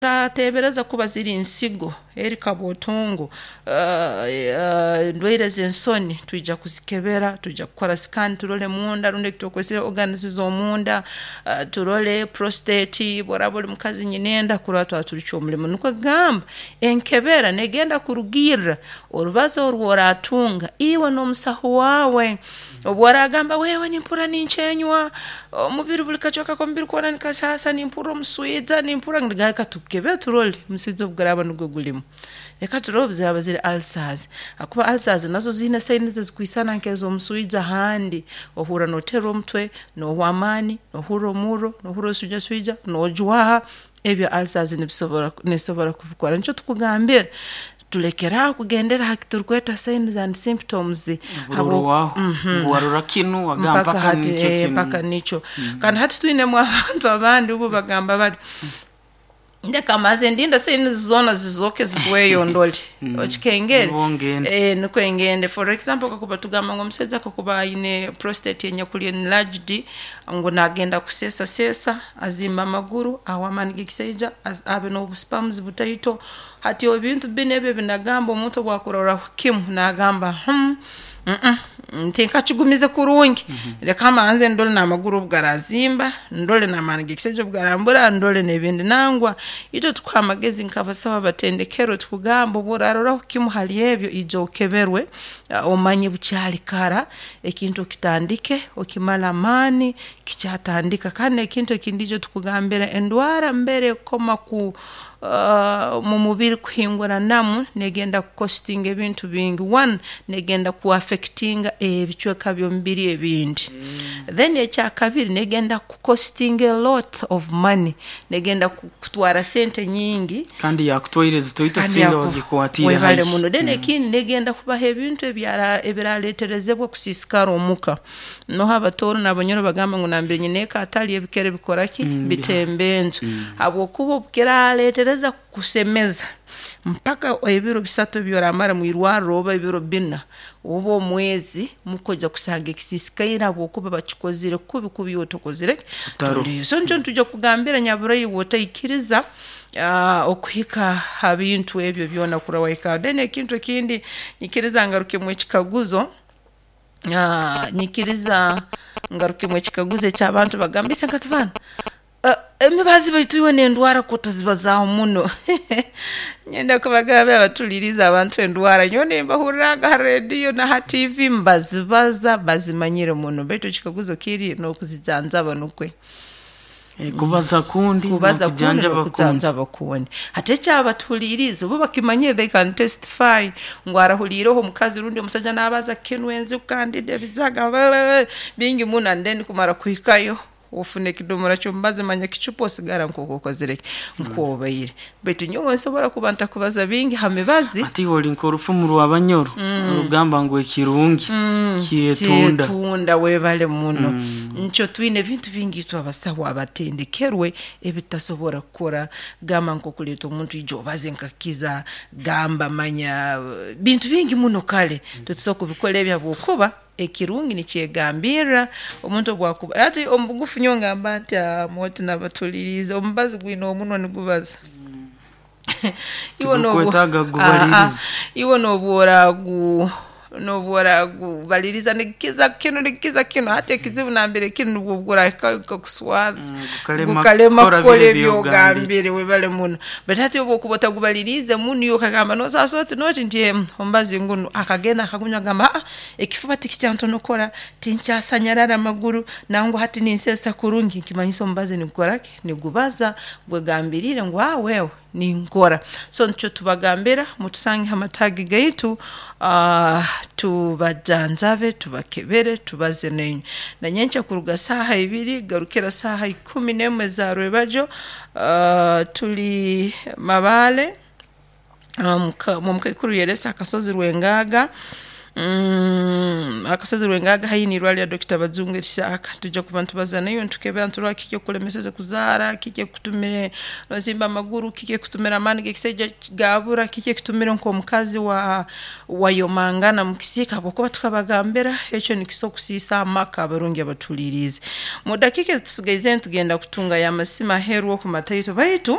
Turateebereza kuba ziri nsigo, eri kabootongo, endwaire z'ensoni twija kuzikebera, twija kukora scan turole munda rundi eki twakwesere organs z'omunda, turole prostate, obu oraaba oli mukazi nyinenda kurora twaba tulikyo omulimo. Nukwe kugamba enkebera neegenda kurugirra orubazo oru oraatunga iwe n'omusaho waawe. Obu oraagamba wewe nimpurra ninkyenywa, omubiri buli kacweka k'omubiri koona nikasaasa, nimpurra omuswija, nimpurra nigamba reka tukukebere turole omuswija obu guraaba nugwo gulimu. Reka turole obu ziraaba ziri ulcers habwokuba ulcers nazo ziine signs ezikwisana nk'ez'omuswija handi, ohurra nooterwa omutwe, noohwa amaani, noohurra omurro, noohurra oswijaswija, noojwaha, ebyo ulcers nibisobora neesobora kubikora. Nikyo tukugambira tulekere aho kugendera ha kiturukweta signs and symptoms Oburorwaho ngu warora kinu wagamba mpaka mpaka hati nikyo kinu. mpaka nikyo. Kandi hati twinemu abantu abandi ubo bagamba bati ndeka mbanze ndinde signs zoona zizooke zihweyo ndole, okikengere? Nubwo ngende. Nukwe ngende. For example kakuba tugamba ngu omusaija kakuba aine prostate enyakuli enlarged ngu naagenda kuseesaseesa, azimba amaguru, ahwa amaani g'ekisaija, abe n'obu sperms butaito. Hati ebintu binu ebi ebinagamba omuntu obu akuroraho kimu naagamba tinkakigumize kurungi, leka mbanze ndole n'amaguru obu garaazimba, ndole n'amaani g'ekisaija obu garambura, ndole n'ebindi. Nangwa itwe tukuha amagezi nk'abasaho abatendekerwe tukugamba obu oraaroraho kimu hali ebyo ija okeberwe omanye bukyali kara, ekintu okitandike okimale amaani kikyatandika. Kandi n'ekintu ekindi itwe tukugambira endwara mbere ekukoma ku mu mubiri kuhinguranamu neegenda kukostinga ebintu bingi. One, neegenda kuaffectinga ebicweka by'omubiri ebindi. Then ekyakabiri neegenda kukostinga a lot of money, neegenda kutwara sente nyingi. Kandi yakutwaire zitoito Kandi singa yaku wagikwatiire webale haihi. muno. Then ekindi neegenda kubaha ebintu ebiraaleeterezebwa kusiisikara omuka. Noha Abatooro n'Abanyoro bagamba ngu nambere nyineeka atali ebikere bikora ki? Bitemba enju. Habwokuba obu kiraaleetereza kukusemeza mpaka ebiro bisatu ebi oraamara mwirwarro oba ebiro bbina oba omwezi mukwija kusanga ekisiisikaire habwokuba bakikozire kubi kubi iwe otokozire ki? Otaroho. Toliyo. So nikyo nitwija kukugambira nyaburaiwe otaikiriza okuhika ha bintu ebyo byona kurora wahika. Then ekintu ekindi nyikiriza ngarukemu ekikaguzo, nyikiriza ngarukemu ekikaguzo eky'abantu bagamba ise banu emibazi baitu iwe n'endwara k'otazibazaaho muno. Nyenda kubagambira abatuliirize abantu endwara nyowe nimbahurraaga ha rediyo na ha tiivi mbazibaza bazimanyire muno baitu ekikaguzo kiri n'okuzijanjaba nukwe. Kubaza kundi Kubaza kundi n'okujanjaba kundi. n'okujanjaba kundi. Hati ekyabatuhuliirize bo bakimanyire they can testify ngu arahuliireho omukazi rundi omusaija naabaza kinu enziku kandida ebijaga bingi muno and then kumara kuhikayo ofuna ekidomora ky'omubazi manya kicupa osigara nk'oku okozire ki? Nk'obaire. Baitu nyowe nsobora kuba ntakubaza bingi ha mibazi. Hati iwe ori nk'orufumu rw'Abanyoro orugamba ngu ekirungi kyetunda. Kyetunda webale muno. Nikyo twine ebintu bingi itwe abasaho abatendekerwe ebitutasobora kukora, gamba nk'okuleeta omuntu ija obaze nkakukiza, gamba manya bintu bingi muno kare titusobora kubikora ebi habwokuba ekirungi nikyegambirra omuntu obu akuba hati omu bugufu nyowe ngamba nti mwoti nabatuliirize omubazi gwine omunwa nigubaza. Iwe noobu Tigukwetaaga kugubaliriza. iwe noobu oraagu noobu oraagubaliriza nigukiza kinu nigukiza kinu hati ekizibu nambere kiri nubwo obu guraahikayo gukakuswaza, Gukalema gukalema kukora kukora biri ebi ebi ogambire. ogambire webale muno. Baitu hati obu okuba otagubaliriize muno iwe okagamba noosaasa oti n'oti nti omubazi ngunu akagenda akagunywa agamba ekifuba tikikyantonokora, tinkyasanyarara amaguru, nangwa hati ninseesa kurungi nikimanyisa omubazi nigukora ki? Nigubaza gwegambiriire ngu wewe ninkora. So nikyo tubagambira mutusange ha mataagi gaitu tubajanjabe, tubakebere, tubaze nainywe. Na nyenkya kuruga saaha ibiri garukira saaha 11 za rwebagyo tuli Mabaale omu mukaikuru Yeresa Akasozi Rwengaaga. Akasozi Rwengaga haihi n'irwariro lya Dokita Bajungu erihyaka. Nitwija kuba nitubaza naiwe nitukebera niturora kiki ekikulemeseze kuzaara, kiki ekikutumire nozimba amaguru, kiki ekikutumire amaani g'ekisaija gaabura, kiki ekikutumire nk'omukazi wa wayomangana mu kisiika habwokuba tukabagambira ekyo nikiso kusiisa amaka abarungi abatuhuliiriize. Mu dakiika ezitusigaize nitugenda kutungayo amasimu aheeru oku mataito baitu.